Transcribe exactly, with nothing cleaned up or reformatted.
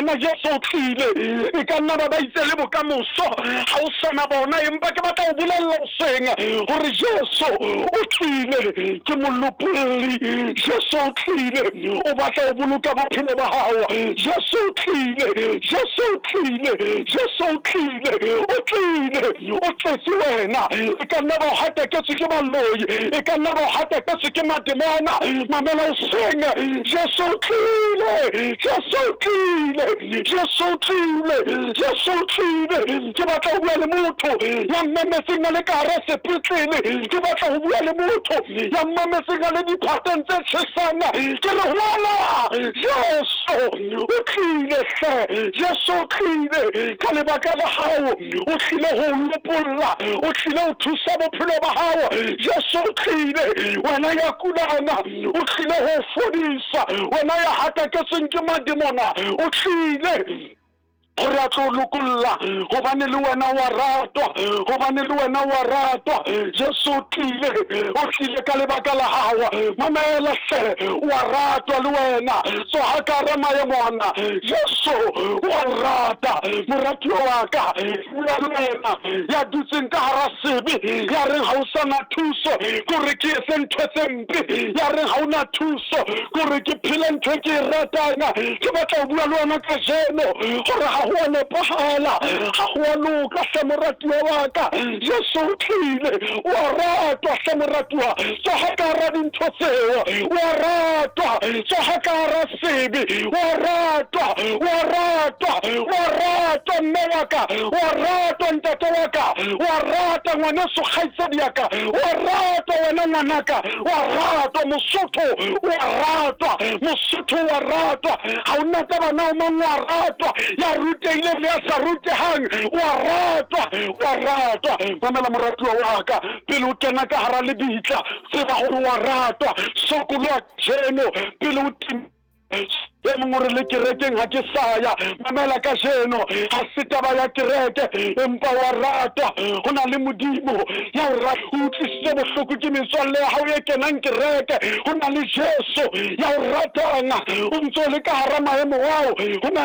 wena Jesu o tlile. E ka nna ba ba itse le bokamoso ha o sana bona, empa ke batla ho bolella hoseng hore Jesu o tlile, ke molopolli. Jesu o tlile, o batla ho boloka bophelo ba hao. Jesu o tlile, Jesu o tlile, Jesu o tlile, o tlile, o tletse wena. E ka nna ba o hataketswe ke baloi, e ka nna ba o hataketswe ke mademona. Mamela hoseng, Jesu o tlile, Jesu o tlile, Jesu o tlile, Jesu o tlile. Ke batla ho bua le motho ya mmametseng a le ka hara sepetlele, ke batla ho bua le motho ya mmametseng a le diphateng tse tjhesang. Ke re hola, Jesu o tlile hle, Jesu o tlile ka lebaka la hao, o tlile ho o lopolla, o tlile ho thusa bophelo ba hao. Jesu o tlile, wena ya kulang, o tlile ho o fodisa, wena ya hataketsweng ke mademona, o tlile gore a tlo lokolla, gobane le wena wa ratwa, gobane le wena wa ratwa. Jesu o tlile, o tlile ka lebaka la hao. Mamela hle, wa ratwa le wena, tsoha ka hara maemo ana. Jesu wa o rata, moratuwa wa ka. Bua le wena ya dutseng ka hara sebe, ya reng ha o sana thuso, kore ke etse ntho tse mpe, ya reng ha o na thuso, kore ke phele ntho e ke e ratang. Ke batla ho bua le wena kajeno gore ha ho a nepahala, ha ho a loka hle moratuwa wa ka. Jesu o tlile, o a ratwa hle moratuwa, tsoha ka hara dintho tseo. O a ratwa, tsoha ka hara sebe. O a ratwa, o a ratwa, o a ratwa mme wa ka, o a ratwa ntate wa ka, o a rata ngwaneso kgaitsedi ya ka, o a ratwa wena ngwanaka, o a ratwa Mosotho, o a ratwa Mosotho, o a ratwa. Ha o na taba na o mang, o a ratwa, ya rutehileng le ya sa rutehang, o a ratwa, o a ratwa. Mamela moratuwa wa ka, pele o kena ka hara lebitla, tseba gore o a ratwa. Sokoloha kajeno pele o tim e mongwe o re le kerekeng ha ke saya. Mamela kajeno, ha se taba ya kereke, empa wa ratwa. Ho na le Modimo ya o rata, o utlwisitse bohloko ke metswalle ya hao e kenang kereke. Ho na le Jesu ya o ratang, o ntso le ka hara maemo ao. Ho na